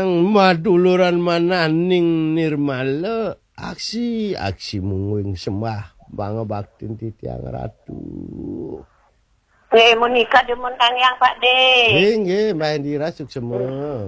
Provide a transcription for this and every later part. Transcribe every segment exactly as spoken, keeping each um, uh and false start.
Maduluran mananing nirmala, aksi, aksi mungguing sembah, pangabaktin titiang ratu. Nggih, menika demen kang yang Pak De. Nggih, nggih, Mbah Indira suksema.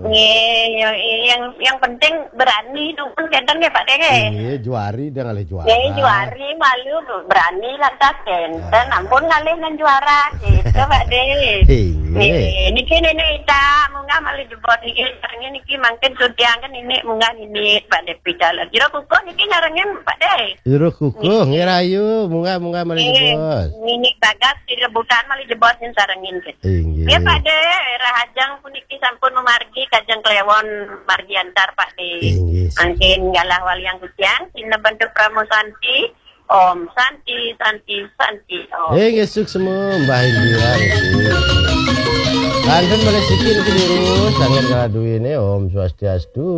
Nggih, yang, yang, yang penting berani dumun kenten nggih Pak De nggih. Nggih, juari dah ngalih juara. Nggih, juari malu berani lantas kenten. Ah. Ampun ngalih nang juara gitu Pak De. Nggih. Nggih, niki Nenek Ita, munggah malih jebos niki, sarengin niki mangkin sudiang kan ini munggah nini Pak De pidalan. Jero kukuh niki nyarengin Pak De. Jero kukuh, nggih rayu, munggah, munggah malih jebos. Nini bagas di rebutan malih jebos ning sarengin gitu. Inggih. Nggih Pak De, rahajeng puniki sampun memargi kajeng Kliwon margi antar Pak De. Inggih. Mangkin galah waliang kuciang, sina bentuk Pramo Santi, Om Santi, Santi, Santi, Om. Inggih, suksema, Mbah Indira niki. Kantun malih siki niki durus, sanget kala duwene, Om Swastiastu.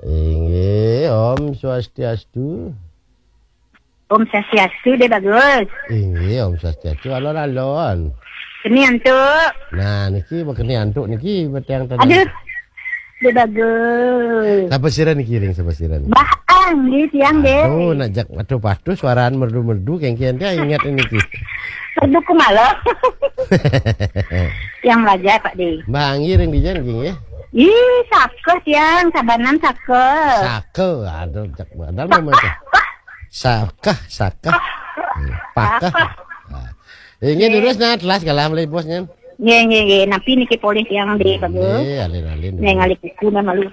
Inggih, Om Swastiastu. Om Swastiastu, De Bagus. Inggih, Om Swastiastu, alon-alon. Keni antuk. Nah, niki, keni antuk niki, beteng tenang. Aduh, De Bagus. Sapa sira niki, ring sapa sira niki? Mbah Ang, nggih, tiang, nggih. Aduh, nak jak, aduh, patuh, suaraan merdu-merdu, kengkian dia ingat niki. Merdu kumalo. Yang belajar, Pak De. Mbah Anggi ring dija niki, nggih? Ih, sakeh, tiang, sabanan sakeh. Sakeh, aduh, jak badal memang teh. Sakeh, sakeh. Hmm, pakeh. Sakeh. Nah. Inggih, nggih. Durus, nah, telas kalah malih bos, nyen. Nggih, nggih, nggih. Napi niki polih tiang, De Bagus? Nggih, alin-alin. Nggih, ngalih kuku, nah, malu.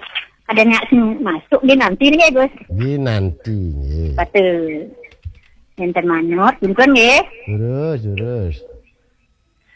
Ada nak sing masuk, nggih, nanti nggih, Gus. Nggih, nanti, nggih. Kata, enten manut, punten, nggih. Durus, durus.